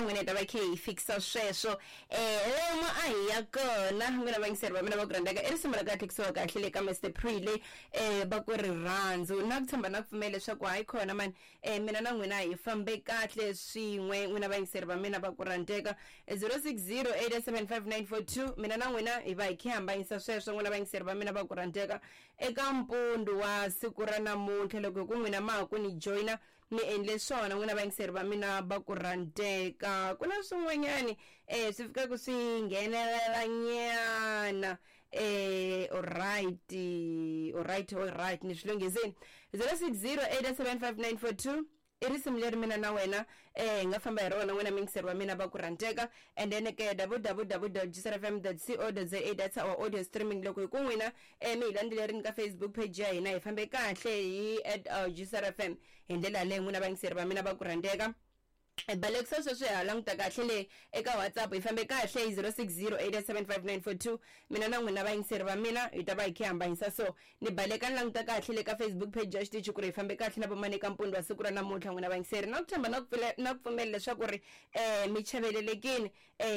N'wina hi ta va khe hi fikisa sweswo lomu a hi ya kona. N'wina vayingiseri va mina va ku rhandzaka, i risimu ra kahle kusuka kahle le ka Mr Prile, va ku rirhandzu. Na ku tshemba na ku pfumela leswaku hayi khona mani, mina na n'wina hi fambe kahle swin'we. N'wina vayingiseri va mina va ku rhandzeka, 06087594, mina na n'wina hi va hi khe hambanyisa sweswo. N'wina vayingiseri va mina va ku rhandzeka, eka mpundu wa siku ra namuntlha, loko hi ku n'wina ma ha ku ni joyina, mi endle swona. N'wina vayingiseri va mina va ku rhandzeka, ku na swin'wanyani swi fikaka swi nghenelela nyana. Alright, alright, alright, ni swi lunghisini. 06087594 i risimu leri mina na wena hi nga famba hi rona, n'wina miyingiseri wa mina va ku rhandzeka. And then ke www.gcrfm.co.za, that's our audio streaming. Loko hi ku n'wina mi hi landzelerini ka Facebook page ya hina, hi fambe kahle hi at GCRFM hi ndlela yaleyo. N'wina vayingiseri va mina va ku rhandzeka, balekisa sweswi ha languta kahle le eka WhatsApp, hi fambe kahle hi 06087594, mina na n'wina vayingiseri va mina hi ta va hi khe hambanyisa. So ni baleka ni languta kahle le ka Facebook page ya xitichi ku ri hi fambe kahle na vomani eka mpundu wa siku ra namuntlha. N'wina vayingiseri, na ku tshemba na ku na ku pfumela leswaku ri mi chavelelekini,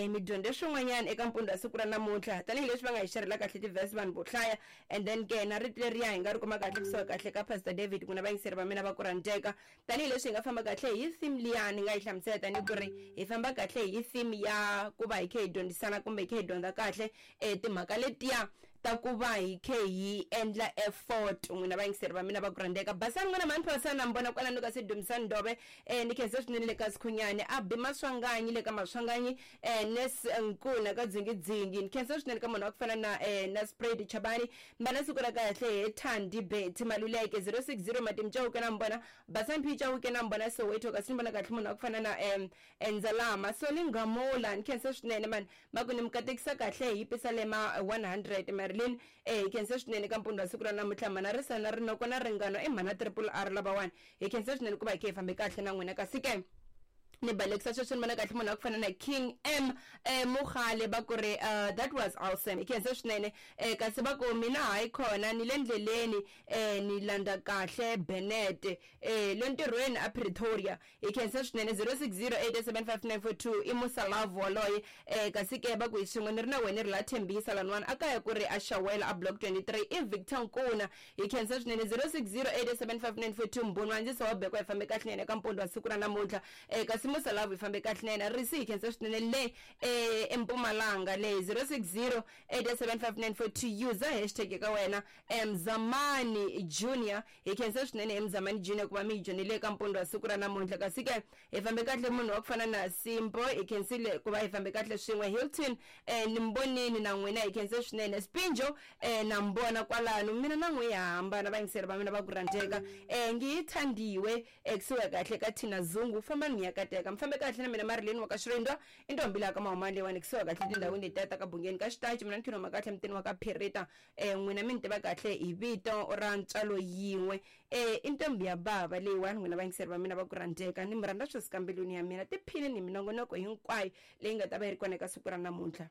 mi dyondze swin'wanyana eka mpundu wa siku ra namuntlha, tanihileswi va nga hi xerhela kahle ti-verse vanhu vo hlaya. And then ke na rito leriya hi nga ri kuma kahle kusuka kahle ka Pastor David. N'wina vayingiseri va mina va ku rhandzeka, tanihileswi hi nga famba kahle hi theme liya ni nga yi hlamusela, tanihi ku ri hi famba kahle hi theme ya ku va hi khe hi dyondzisana kumbe hi khe hi dyondza kahle timhaka letiya ta ku va hi khe hi endla effort. N'wina vayingiseri va mina va ku rhandzeka, basani n'wina mhani phasana na mi vona kwalano ka Sidumisani Ndove, ni khensa swinene le ka Sikhunyani, a bi Maswanganyi le ka Maswanganyi, Nes Nkuna ka Dzingidzingi, ni khensa swinene ka munhu wa ku fana na na Spread Chabani. Mbana siku ra kahle he Thandi Betty Maluleke. 060 Matimu Chauke na mi vona, Basani P Chauke na mi vona Soweto, kasi ni vona kahle munhu wa ku fana na Ndzalama Soli Ngamula, ni khensa swinene mani. Va ku ni mi katekisa kahle hi Pisalema 100 Marilyn, hi khensa swinene ka mpundzu wa siku ra namuntlha. Mhana Risana Rinoko na Ringano i mhana Triple R lavawani, hi khensa swinene ku va hi khe hi fambe kahle na n'wina. Kasi ke ni balekisa sweswi ni vona kahle munhu wa ku fana na King M Mukhale, va ku ri that was awesome, hi khensa swinene. Kasi va ku mina hayi khona ni le ndleleni, ni landza kahle Benet le ntirhweni a Pretoria, hi khensa swinene. 06087594 i Musa Love waloye. Kasi ke va ku hi swin'we ni ri na wena ri la Thembisa laniwani a kaya ku ri a Xawela a Block 23 i Victor Nkuna, hi khensa swinene. 06087594 Mbhunu wa ndzisa wa Bekwa, hi fambe kahle nene ka mpundu wa siku ra namuntlha. Kasi Musa Love hi fambe kahle nene risi, hi khensa swinene le eMpumalanga le. 06087594 user hashtag ka wena Mzamani Junior, hi khensa swinene Mzamani Junior ku va mi hi joinile eka mpundu wa siku ra namuntlha. Kasi ke hi fambe kahle munhu wa ku fana na Simpo, hi khensile ku va hi fambe kahle swin'we. Hilton, ni mi vonini na n'wina, hi khense swinene. Spinjo, na mi vona kwalano, mina na n'wi ha hambana vayingiseri va mina va ku rhandzeka. Ngiyithandiwe kusuka kahle ka Thina Zungu, fambani mi ya kateka, mi fambe kahle na mina Marilyn wa ka Xirindwa, i ntombi laha ka Mahumani leyiwani, kusuka kahle tindhawini letiya ta ka Bungeni ka Xitachi. Mina ni khiloma kahle mutini wa ka Phirita, n'wina mi ni tiva kahle hi vito ra ntswalo yin'we, i ntombi ya bava leyiwani. N'wina vayingiseri va mina va ku rhandzeka, ni mi rhandza swo suka mbilwini ya mina. Tiphini ni minongonoko hinkwayo leyi nga ta va yi ri kona eka siku ra namuntlha.